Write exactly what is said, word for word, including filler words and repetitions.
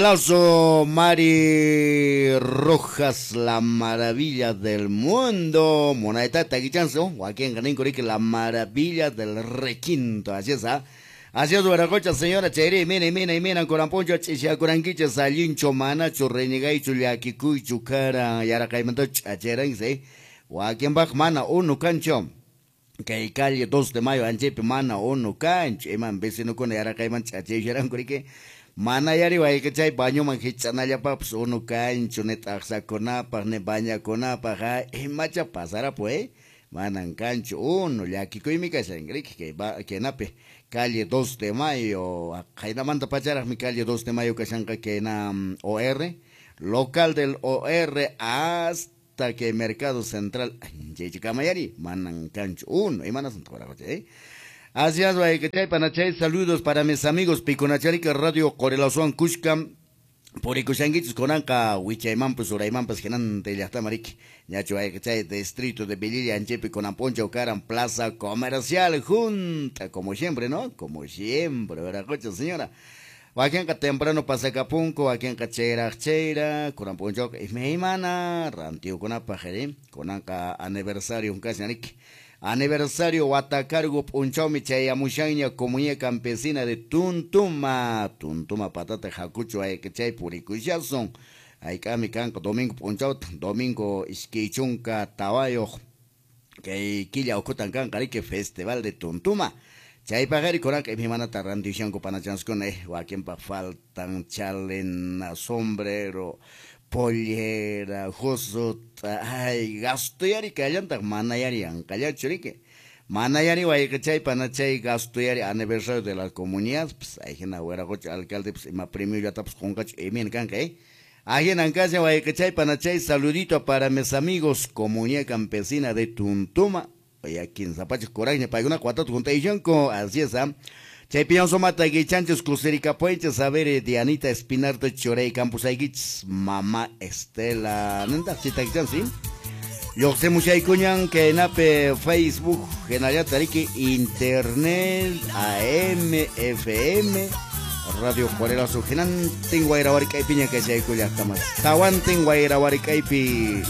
Aplauso, Mari Rojas, la maravilla del mundo. Moneta taquichanzo, Joaquín Ganinco, la maravilla del requinto. Así es, ¿ah? Así es, Huaracocha, señora Cheri, mire, mire, mira, Coramponcho, Chichacuranquicha, Salincho, Manacho, Renegaicho, Yaquicuycho, Cara, Yaracaimanto, Chacherense, Joaquín Bach, Mana, Uno, Cancho. Kay calle dos de mayo, Anchepe, Mana, Uno, Cancho, Iman, vecino con Yaracaiman, Chacheranco, Mana yari waykachay bañoman hichanallapapis unu kanchu ni t'aqsakunapaq ni bañakunapaq ha imacha pasarapu eh manan kanchu unu llakikuymi kashan riki kay kaynapi calle dos de mayo qaynamanta pacharaqmi calle dos de mayo kashanqa kayna O R local del O R hasta que Mercado Central anchaychikamayari manan kanchu unu imanas eh. Así es, panachay, saludos para mis amigos Piconacharica Radio Corelazuan Cushca, Purikushanguichis Conanca, Wichaymampas, Uraymampas, Genante, Llaqtamariki, Ñacho Aychay, Distrito de Velilla, Anchepi, Conamponcha, Ocaran, Plaza Comercial, junta, como siempre, ¿no? Como siempre, ¿verdad, cocha, señora? Wakianka temprano pasacapunco, wakianka cheira cheira, Conamponcha, Ismeimana, Rantiu Conapa, Conanca aniversario, casi, Ariki. Aniversario Watacargo Punchomi Chayamushaña Comunidad Campesina de Tuntuma Tuntuma Patata Jacucho Aychay Puricuyason Aykami Kanko Domingo Punchaut Domingo Isquichunca Tawayo que Quilla Ocotan Kankarike Festival de Tuntuma Chaypagari Coranca Imanata Randishanko Panachanscone Waquimpa faltan chalena sombrero pollera, josota, ay, gasto yari kallantaq manayari anqallachu riki. Manayari wayqichay panachay gasto yari aniversario de la comunidad, pues ahí hina wiraqucha alcalde pues ima premiollatapas qunqachu imayna kanqa eh. Ahí kasha wayqichay panachay saludito para mis amigos Comunidad Campesina de Tuntuma. Oye, quince pachak kuraqña paykuna watata juntaychanku, así es, ¿ah? Chaypiñan sumata guichanchis kusirikapuenchis, a ver, Dianita Espinarte Chorey Campos Aiguich, Mamá Estela, nenda chitagichan, ¿sí? Lluqsimushaykuñan kaynapi Facebook, hinallataq riki Internet, A M, F M, Radio Juarelazo, hinantin wayrawarikaypiña kashaykullaqtamas, tawantin wayrawarikaypi.